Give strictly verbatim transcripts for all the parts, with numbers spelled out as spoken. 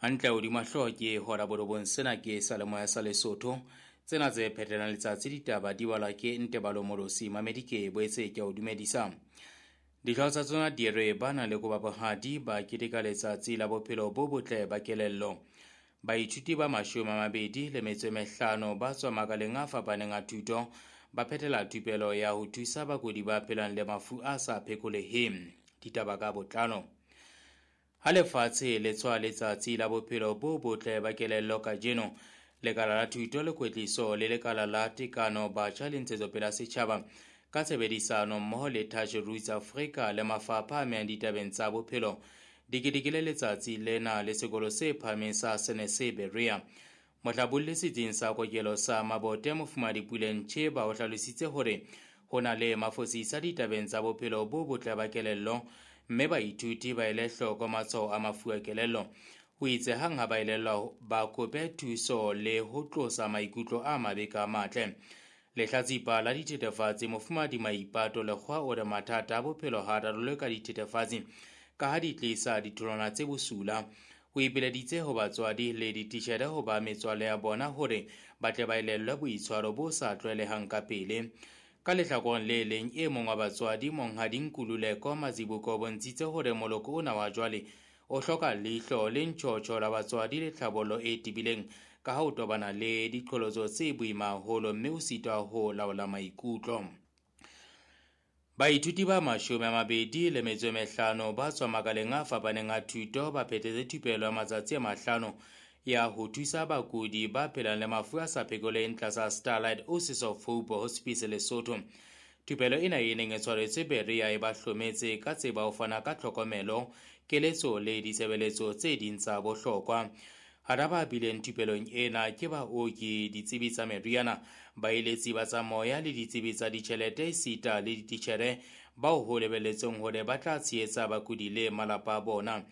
Hantle hodima hlooho ke hora borobong, sena ke Salemoya sa Lesotho. Tsena tse phetelang letsatsi ditaba di balwa ke Ntebalo Morosi. Mamedi ke boetse ke o dumedisa. Dihlooho tsa tsona di re ba na le koba bohadi ba keteka letsatsi la bophelo bo botle ba kelello. Baithuti ba mashome a mabedi le metso e mehlano ba tswa makaleng a fapaneng a thuto ba phethela thupelo ya ho thusa bakudi ba phelang le mafu a sa phekoleheng. Ditaba ka botlalo. Ha lefatshe le tshwa letsatsi la bophelo bo botle ba kelello kajeno, lekala la thuto le kwetliso le lekala la tekano batjha le ntshetsopele ya setjhaba ka tshebedisano mmoho le Touch Roots Africa le mafapha a amehang ditabeng tsa bophelo di ketekile letsatsi lena le sekolo se phahameng sa Senese Berea. Mohlabolli setsing sa kokelo sa Mabote Mofumahadi Puleng Cheba o hlalositse hore ho na le mafosisa ditabeng tsa bophelo bo botle ba kelello mme baithuti ba ele hloko matshwao a mafu a kelello. O itse hang ha ba elellwa ba kope thuso le ho tlosa maikutlo a mabe ka matle. Lehlatsipa la dithethefatsi Mofumahadi Maipato Lekgowa o re mathata a bophelo ha a rarollwe ka dithethefatsi ka ha di tlisa ditholwana tse bosula. O ipileditse ho batswadi le dititjhere ho ba metswalle ya bona hore ba tle ba elellwe boitshwaro bo sa tlwaelehang ka pele. Ka lehlakoreng le leng, e mong wa batswadi Monghadi Nkululeko Mazibuko o bontshitse hore moloko ona wa jwale o hloka leihlo le ntjhotjho la batswadi le tlhabollo e tebileng ka ha o tobana le diqholotso tse boima haholo mme o sitwa ho laola maikutlo. Baithuti ba mashome a mabedi le metso e mehlano ba tswa makaleng a fapaneng a thuto ba phethetse thupelo ya matsatsi a mahlano ya ho thusa bakudi ba phelang le mafu a sa phekoleheng tlasa Starlight Oasis of Hope Hospice Lesotho. Thupelo ena e neng e tshwaretswe Berea e ba hlometse ka tseba ho fana ka tlhokomelo, keletso le ditshebeletso tse ding tsa bohlokwa. Hara ba bileng thupelong ena ke baoki, ditsebi tsa meriana, baeletsi ba tsa moya le ditsebi tsa ditjhelete esita le dititjhere bao ho lebelletsweng hore ba tla tshehetsa bakudi le malapa a bona.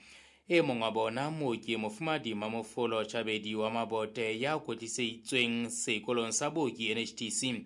E mong wa bona, mooki Mofumahadi Mamofolo Chabedi wa Mabote ya kwetlisitsweng sekolong sa booki N H T C,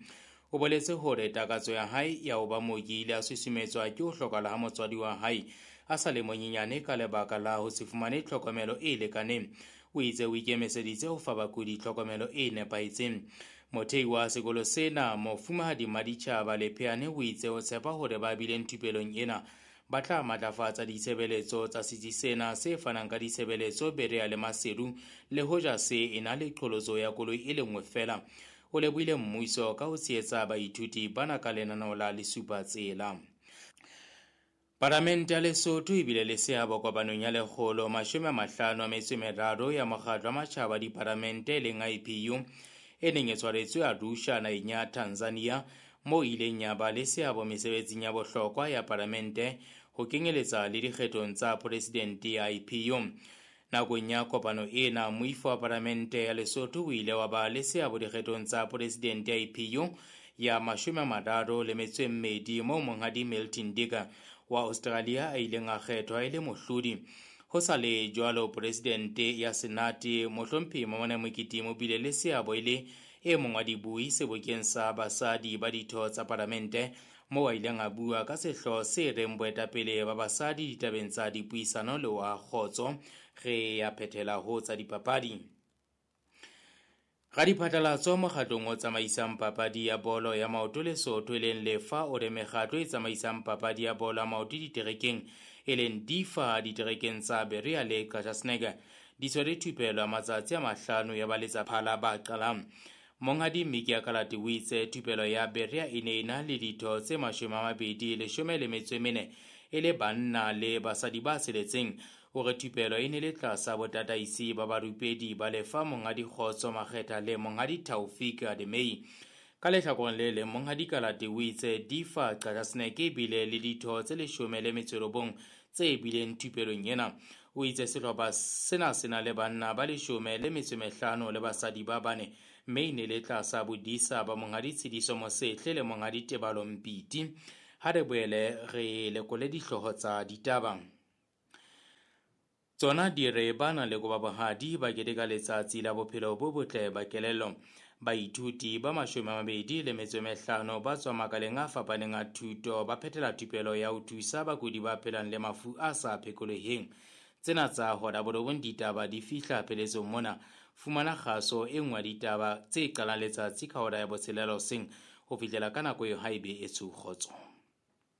o boletse hore takatso ya hae ya ho ba mooki ile a susumetswa ke ho hlokahala ha motswadi wa hae a sa le monyenyane ka lebaka la ho se fumane tlhokomelo e lekaneng. O itse o ikemiseditse ho fa bakudi tlhokomelo e nepahetseng. Mothei wa sekolo sena Mofumahadi Maditjhaba Lepheane o itse o tshepa hore ba bileng thupelong ena ba tla matlafatsa ditshebeletso tsa setsi sena se fanang ka ditshebeletso Berea le Maseru le hoja se ena le qholotso ya koloi e le nngwe feela. O lebohile mmuso ka ho tshehetsa baithuti bana ka lenaneo la Lesupa Tsela. Palamente ya Lesotho e bile le seabo kopanong ya lekgolo mashome a mahlano a metso e meraro ya mokgatlo wa matjhaba dipalamente e leng I P U e neng e tshwaretswe Arusha naheng ya Tanzania, moo ileng ya ba le seabo mesebetsing ya bohlokwa ya palamente ho kenyeletsa le dikgethong tsa presidente ya I P U. Nakong ya kopano ena, moifo wa palamente ya Lesotho o ile wa ba le seabo dikgethong tsa presidente ya I P U ya mashome a mararo le metso e mmedi moo Monghadi Milton Dicker wa Australia a ileng a kgethwa e le mohlodi. Ho sa le jwalo, presidente ya Senate Mohlomphehi Mamone Mokete o bile le seabo e le e mong wa dibui sebokeng sa basadi ba ditho tsa palamente moo a ileng a bua ka sehlooho se reng boetapele ba basadi ditabeng tsa dipuisano le wa kgotso. Re ya phethela ho tsa dipapadi. Radiphatlalatso mokgatlong o tsamaisang papadi ya bolo ya maoto Lesotho e leng Lefa o re mekgatlo e tsamaisang papadi ya bolo ya maoto diterekeng e leng D I F A diterekeng tsa Berea le Qachaseneke di tshwere thupelo ya matsatsi a mahlano ya baletsaphala ba qalang. Monghadi Miki Akalate o itse thupelo ya Berea e ne e na le ditho tse mashome a mabedi leshome le metso e mene e le banna le basadi ba tsheletseng. O re thupelo e ne le tlasa botataisi ba barupedi ba Lefa Monghadi Kgotso Makgetha le Monghadi Taufik Ademei. Ka lehlakoreng le leng, Monghadi Kalate o itse D I F A Qachaseneke e bile le ditho tse leshome le metso e robong tse bileng thupelong ena. O itse sehlopha sena se na le banna ba leshome le metso e mehlano le basadi ba bane mme e ne le tlasa bodisa ba Monghadi Tshidiso Mosehle le Monghadi Tebalo Mpiti. Ha re boele re lekole dihlooho tsa ditaba. Tsona di re ba na le koba bohadi ba keteka letsatsi la bophelo bo botle ba kelello. Baithuti ba mashome a mabedi le metso e mehlano ba tswa makaleng a fapaneng a thuto ba phethela thupelo ya ho thusa bakudi ba phelang le mafu a sa phekoleheng. Tsena tsa hora borobong ditaba di fihla pheletsong mona. Fumana kgaso e nngwe ya ditaba tse qalang letsatsi ka hora ya botshelela hoseng ho fihlela ka nako eo haebe e tsho kgotso.